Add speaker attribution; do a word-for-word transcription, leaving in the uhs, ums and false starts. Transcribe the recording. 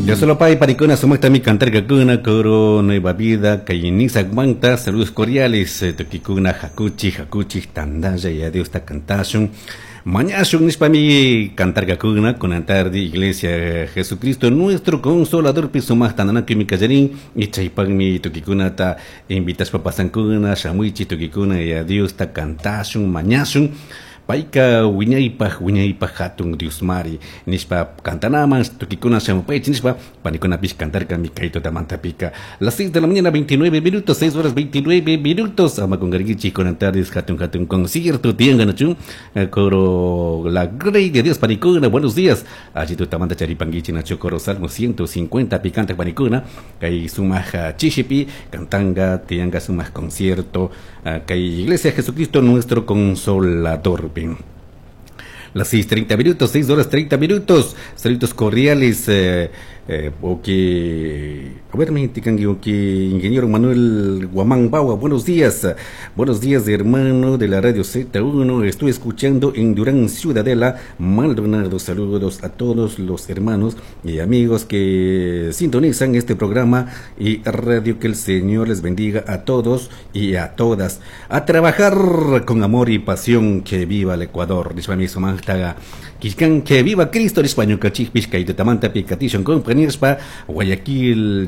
Speaker 1: Dios solo pay panikuna sumaqtami cantarkakuna coro Nueva Vida kay saludos cordiales eh, tukikuna hakuchik hakuchik tandalla Yaya Diosta cantashun mañashun nishpami cantarkakuna kunan tarde Iglesia Jesucristo nuestro consolador pi sumaqta tandanakuymi kallarin y chaypaqmi tukikunata invitashpa pasankuna shamuychik tukikuna Yaya Diosta cantashun mañashun payka wiñaypaj wiñaypaj hatun Diosmari nishpa cantanaman tukikuna shamupaychik nishpa panikunapish cantarkami kay tutamantapika las seis de la mañana veintinueve minutos, seis horas veintinueve minutos. Ama qunqarkichik kunan tardes hatun hatun concierto tiyanka nachu coro La Grey de Dios. Panikuna, buenos días, alli tutamanta charipankichik nachu coro Salmo ciento cincuenta pi canta panikuna kay sumaq chishipi cantanga tiyanka sumaq concierto kay Iglesia Jesucristo Nuestro Consolador. Las seis treinta minutos, seis horas treinta minutos. Saludos cordiales. Eh, eh, a ver, mi ingeniero Manuel Guamán Baua, buenos días. Buenos días, hermano de la radio Z uno. Estoy escuchando en Durán, Ciudadela, Maldonado. Saludos a todos los hermanos y amigos que sintonizan este programa y radio. Que el Señor les bendiga a todos y a todas. A trabajar con amor y pasión. Que viva el Ecuador. Que viva Cristo. Guayaquil.